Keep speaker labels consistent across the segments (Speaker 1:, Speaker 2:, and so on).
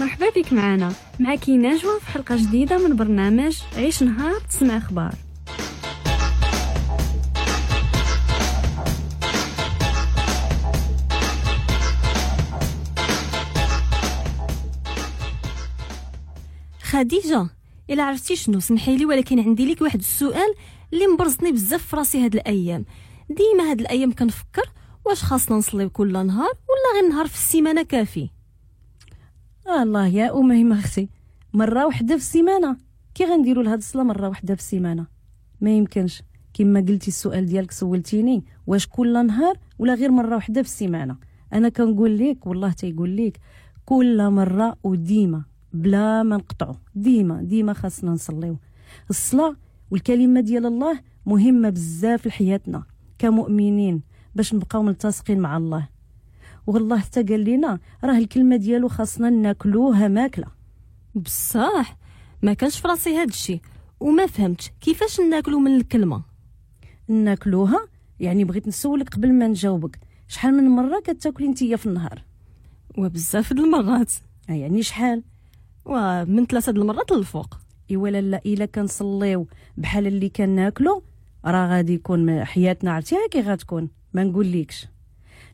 Speaker 1: مرحبا بك معنا، معك نجوى في حلقة جديدة من برنامج عيش نهار تسمع أخبار.
Speaker 2: خديجة، إلا عرفتي شنو سمحي لي، ولكن عندي لك واحد السؤال اللي مبرزني بزاف في راسي هاد الأيام. ديما هاد الأيام كنفكر واش خاصنا نصليو كل نهار ولا غير نهار في السيمانة كافي.
Speaker 3: الله يا أميمة أختي، مرة واحدة في السيمانة كي غنديروا لهاد الصلاة مرة واحدة في السيمانة؟ ما يمكنش. كما قلتي السؤال ديالك سولتيني واش كل نهار ولا غير مرة واحدة في السيمانة. أنا كنقول لك والله تيقول لك كل مرة وديما بلا ما نقطعو، ديما ديما خاصنا نصليو. الصلاة والكلمة ديال الله مهمة بزاف لحياتنا كمؤمنين باش نبقاو ملتصقين مع الله. والله حتى قال لنا راه الكلمة ديالو خاصنا ناكلوها ماكلة.
Speaker 2: بصح ما كانش في راسي هاد الشيء وما فهمتش كيفاش ناكلو من الكلمة.
Speaker 3: ناكلوها يعني بغيت نسولك قبل ما نجاوبك، شحال من مرة كتاكلي نتيا في النهار؟
Speaker 2: وبزاف د المرات.
Speaker 3: يعني شحال؟
Speaker 2: ومن 3 د المرات للفوق.
Speaker 3: ايوا لا، الا كنصليو بحال اللي كناكلو راه غادي يكون حياتنا عرفتيها كي غتكون، ما نقوليكش.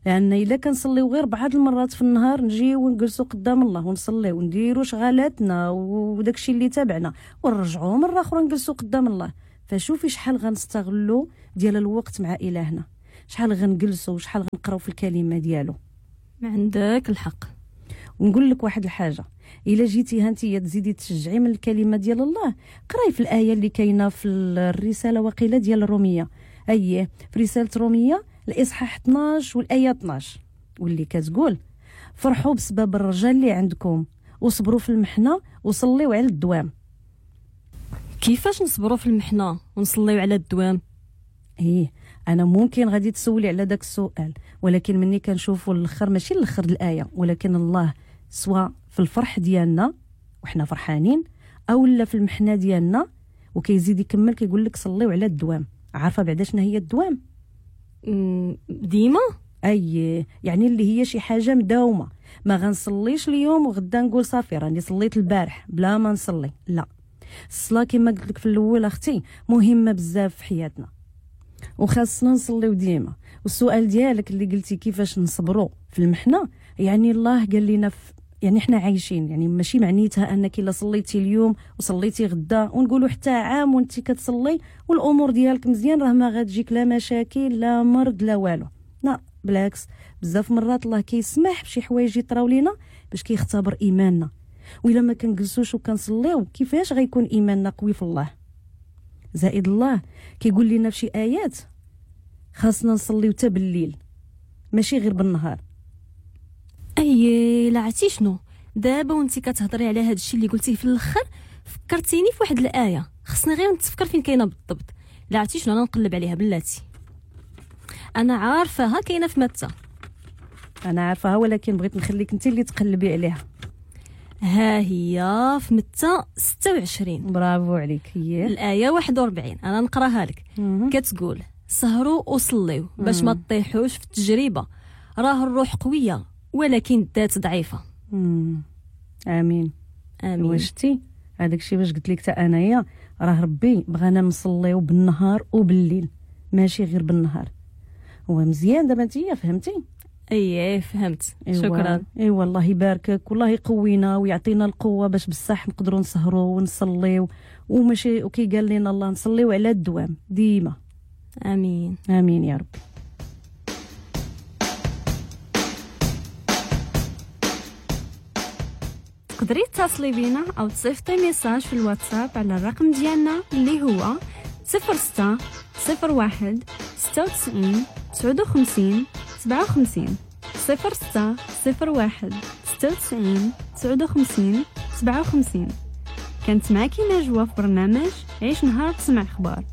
Speaker 3: لان الا كنصليو غير بعض المرات في النهار نجيو ونجلسو قدام الله ونصليو ونديرو شغالاتنا وداكشي اللي تابعنا ونرجعو مرة اخرى نجلسو قدام الله. فشوفي شحال غنستغلو ديال الوقت مع الهنا، شحال غنجلسو وشحال غنقراو في الكلمة ديالو.
Speaker 2: ما عندك الحق.
Speaker 3: ونقول لك واحد الحاجة، الا جيتي ها انت تزيدي تشجعي من الكلمة ديال الله، قراي في الايه اللي كاينه في الرسالة وقيله ديال الرومية، اييه في رسالة رومية الاصحاح 12 والايه 12، واللي كتقول فرحوا بسبب الرجال اللي عندكم وصبروا في المحنة وصليوا على الدوام.
Speaker 2: كيفاش نصبروا في المحنة ونصليوا على الدوام؟
Speaker 3: ايه انا ممكن غادي تسولي على داك السؤال، ولكن مني كنشوفوا الاخر ماشي الاخر الايه، ولكن الله سواء في الفرح ديالنا وحنا فرحانين او لا في المحنة ديالنا، وكيزيد يكمل كيقول لك صليوا على الدوام. عارفه بعدا شنو هي الدوام؟
Speaker 2: ديما.
Speaker 3: اي يعني اللي هي شي حاجة مداومه، ما غنصليش اليوم وغدا نقول صافي راني صليت البارح بلا ما نصلي. لا، الصلاة كما قلت لك في الاول اختي مهمة بزاف في حياتنا وخاصنا نصليو ديما. والسؤال ديالك اللي قلتي كيفاش نصبروا في المحنة، يعني الله قال لنا يعني احنا عايشين، يعني ماشي معنيتها انك الا صليتي اليوم وصليتي غدا ونقولوا حتى عام وانت كتصلي والامور ديالك مزيان راه ما غتجيك لا مشاكل لا مرض لا والو. لا بالعكس، بزاف مرات الله كيسمح بشي حوايج يطراو لينا باش كيختبر ايماننا، والا ما كنجلسوش وكنصليو كيفاش غيكون ايماننا قوي في الله؟ زائد الله كيقول لنا في شي ايات خاصنا نصليو حتى بالليل ماشي غير بالنهار.
Speaker 2: اي لا عرفتي شنو دابا وانت كتهضري على هذا الشيء اللي قلتيه في الاخر فكرتيني في واحد الايه، خصني غير نتفكر فين كاينه بالضبط. لا عرفتي شنو، انا نقلب عليها بلاتي، انا عارفاها كاينه في متى.
Speaker 3: انا عارفاها ولكن بغيت نخليك انت اللي تقلبي عليها.
Speaker 2: ها هي في متى 26.
Speaker 3: برافو عليك. هي
Speaker 2: الايه 41، انا نقراها لك. كتقول سهروا وصليوا باش ما تطيحوش في التجربة، راه الروح قوية ولكن الذات ضعيفة.
Speaker 3: امين
Speaker 2: امين.
Speaker 3: وشتي هذاك الشيء باش قلت لك حتى انايا راه ربي بغانا نصليو بالنهار وبالليل ماشي غير بالنهار. هو مزيان دابا انت فهمتي؟
Speaker 2: ايه فهمت. إيوة. شكرا.
Speaker 3: ايوا الله يباركك والله يقوينا ويعطينا القوة باش بصح نقدروا نسهروا ونصليو، وماشي وكي قال لنا الله نصليو على الدوام ديما.
Speaker 2: امين
Speaker 3: امين يا رب.
Speaker 1: تقدري تتصلي بينا او تصيفطي message في الواتساب على الرقم ديالنا اللي هو 06 01 96 59 57 06 01 96 59 57. كانت معك نجوى في برنامج عيش نهار تسمع اخبار.